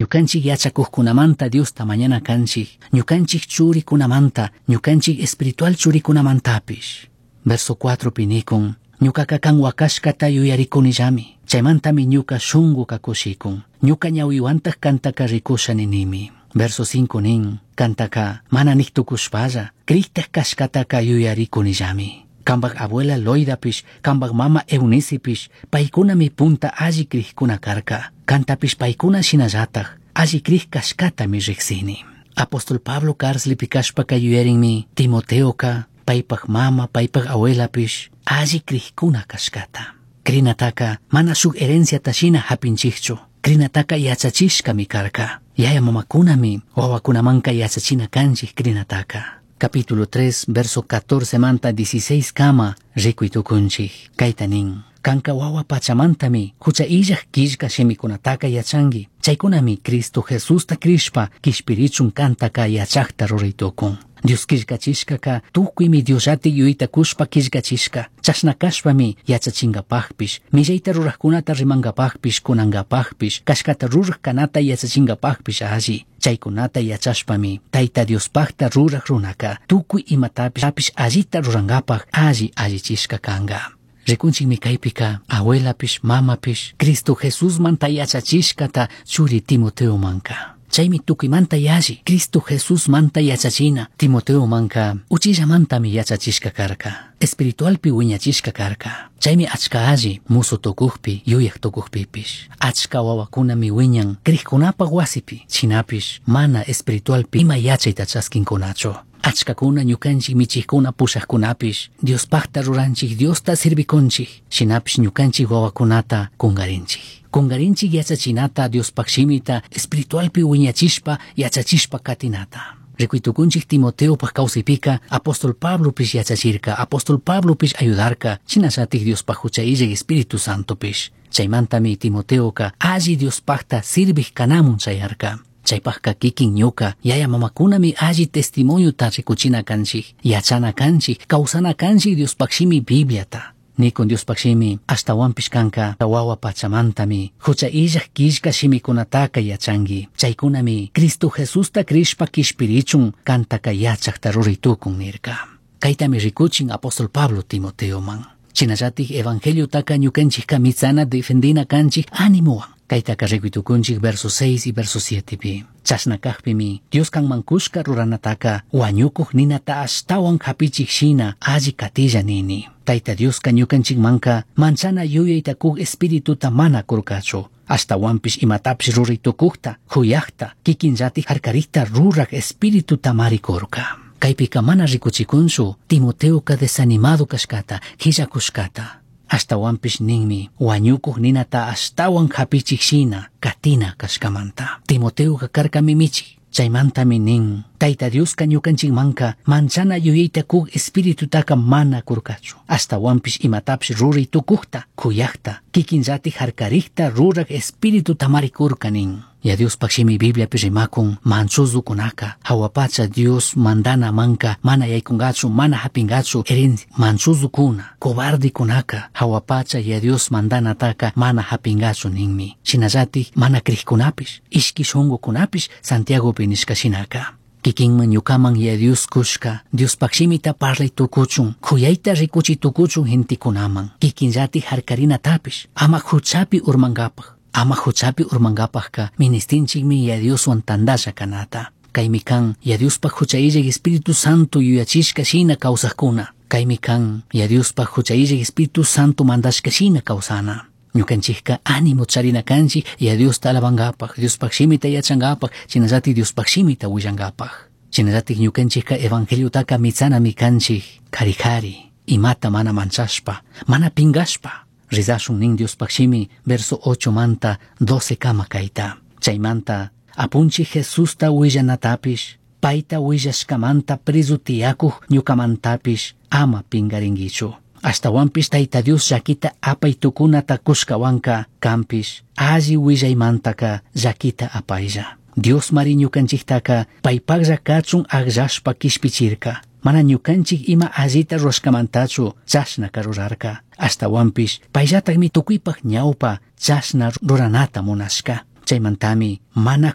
Ñukanchik yachakuqkunamanta Diosta mañana kanchik, ñukanchik churikunamanta, ñukanchik espiritual churikunamantapis. Verso 4 pi nikun, ñukaqa kan wakashkata yuyarikunillami, chaymantami ñuka shunguka kushikun, ñuka ñawiwantaj kantaka rikusha ninimi. Verso 5 nin, kantaka mana nik tukushpalla, crijtaj kashkataka yuyarikunillami. Kambaj abuela Loidapish, kambaj mama Eunicipish, paykunami punta alli crijkuna karka. Kantapish paykuna shinallataj, alli crij kashkatami riksini. Apóstol Pablo cárcelpi kashpaka yuyarinmi Timoteoka, paypaj mama, paypaj abuelapish, alli crijkuna kashkata. Crinataka mana shuk herenciata shina hapinchikchu. Crinataka yachachishkami karka. Yaya mamakunami wawakunamanka yachachina kanchik crinataka. Capítulo 3, verso 14 manta 16 kama rikuy tukunchik. Kayta nin. Kanka wawa pachamantami hucha illaj killka shimikunataka yachanki. Chaykunami Cristo Jesusta crishpa kishpirichun kantaka yachakta ruray tukun. Dios killkachishkaka tukuymi Diosllati yuyayta kushpa killkachishka. Chashna kashpami yachachinkapajpish, millayta rurajkunata rimankapajpish, kunankapajpish, kashkata ruraj kanata yachachinkapajpish alli. Chaykunata yachashpami Tayta Diospajta ruraj runaka tukuy imatapish allita rurankapaj alli allichishka kanka. Rikunchikmi kaypika abuelapish, mamapish, Cristo Jesusmanta yachachishkata churi Timoteomanka. Chaymi tukuymanta yalli Cristo Jesusmanta yachachina Timoteomanka uchillamantami yachachishka karka. Espiritualpi wiñachishka karka. Chaymi achka alli musu tukukpi, yuyaj tukukpipish. Achka wawakunami wiñan crijkunapaj wasipi, shinapish mana espiritualpi ima yachayta chaskinkunachu. Achkakuna ñukanchik michikuna pushajkunapish Diospajta ruranchik, Diosta sirvikunchik, shinapish ñukanchik wawakunata kungarinchik. Kungarinchik yachachinata Diospaj shimita espiritualpi wiñachishpa yachachishpa katinata. Rikuy tukunchik Timoteopaj kawsaypika apóstol Pablopish yachachirka, apóstol Pablopish ayudarka, shinallatik Diospaj hucha illaj Espíritu Santopish. Chaymantami Timoteoka alli Diospajta sirvij kanamun chayarka. Chaypajka kikin ñuka, yaya mamakunami alli testimoniota rikuchina kanchik, yachana kanchik, kawsana kanchik Diospaj shimi Bibliata. Nikun Diospaj shimi ashtawanpish kanka wawa pachamantami hucha illaj killka shimikunataka yachanki. Chaykunami Cristo Jesusta crishpa kishpirichun kantaka yachakta ruray tukun nirka. Kaytami rikuchin apóstol Pablo Timoteoman. Shinallatik evangeliotaka ñukanchikka mitsana defendina kanchik animowan. Kaytaka rikuy tukunchik verso 6 y verso 7 pi. Chashna kajpimi Dios kanman kushka ruranataka wañukuj ninata ashtawan hapichik shina alli katilla nini. Tayta Dioska ñukanchikmanka manchana yuyayta kuj espirituta mana kurkachu. Ashtawanpish imatapish ruray tukujta, kuyajta, kikinllatik harkarikta ruraj espirituta mari kurka. Kaypika mana rikuchikunchu Timoteoka desanimado kashkata, qillakushkata. Ashtawanpish ninmi wañukuj ninata ashtawan hapichik shina katina kashkamanta. Timoteoka karkami michik. Chaymantami nin, Tayta Dioska ñukanchikmanka manchana yuyayta kuj espiritutaka mana kurkachu. Ashtawanpish imatapish ruray tukujta, kuyajta, kikinllatik harkarikta ruraj espirituta mari kurka nin. Ya Diospaj shimi Bibliapi rimakun manchuzukunaka hawa pacha Dios mandana manka mana yaykungachu mana hapingachu herencia manchuzukuna cobardikunaka hawa pacha ya Dios mandanataka mana hapingachu ninmi. Shinallatik mana crijkunapish ishki shungukunapish Santiagopi nishka shinaka. Kikinman ñukaman ya Dios kushka Diospaj shimita parlay tukuchun kuyayta rikuchi tukuchun gentekunaman kikinllatik harkarinatapish ama huchapi urmankapaj. Ama huchapi urmankapajka ministinchikmi ya Dioswan tandasha kanata. Kaymi kan ya Diospaj hucha illaj Espíritu Santo yuyachishka shina kawsajkuna. Kaymi kan ya Diospaj hucha illaj Espíritu Santo mandashka shina kawsana. Ñukanchikka ánimo charina kanchik ya Diosta alabankapaj, Diospaj shimita yachankapaj, shinallatik Diospaj shimita willankapaj. Shinallatik ñukanchikka evangeliotaka mitsanami kanchik kari kari, imata mana manchashpa, mana pingashpa. Rizashun nin Diospaj shimi verso 8 manta 12 kama kayta. Chaymanta apunchik Jesusta willanatapish, payta willashkamanta preso tiyakuj ñukamantapish ama pingarinkichu. Ashtawanpish Tayta Dios llakita apay tukunata kushkawanka kanpish alli willaymantaka llakita apaylla. Dios mari ñukanchiktaka paypajlla kachun akllashpa kishpichirka. Mana ñukanchik ima allita rurashkamantachu chashnaka rurarka. Ashtawanpish payllatakmi tukuypaj ñawpa chashna ruranata munashka. Chaymantami mana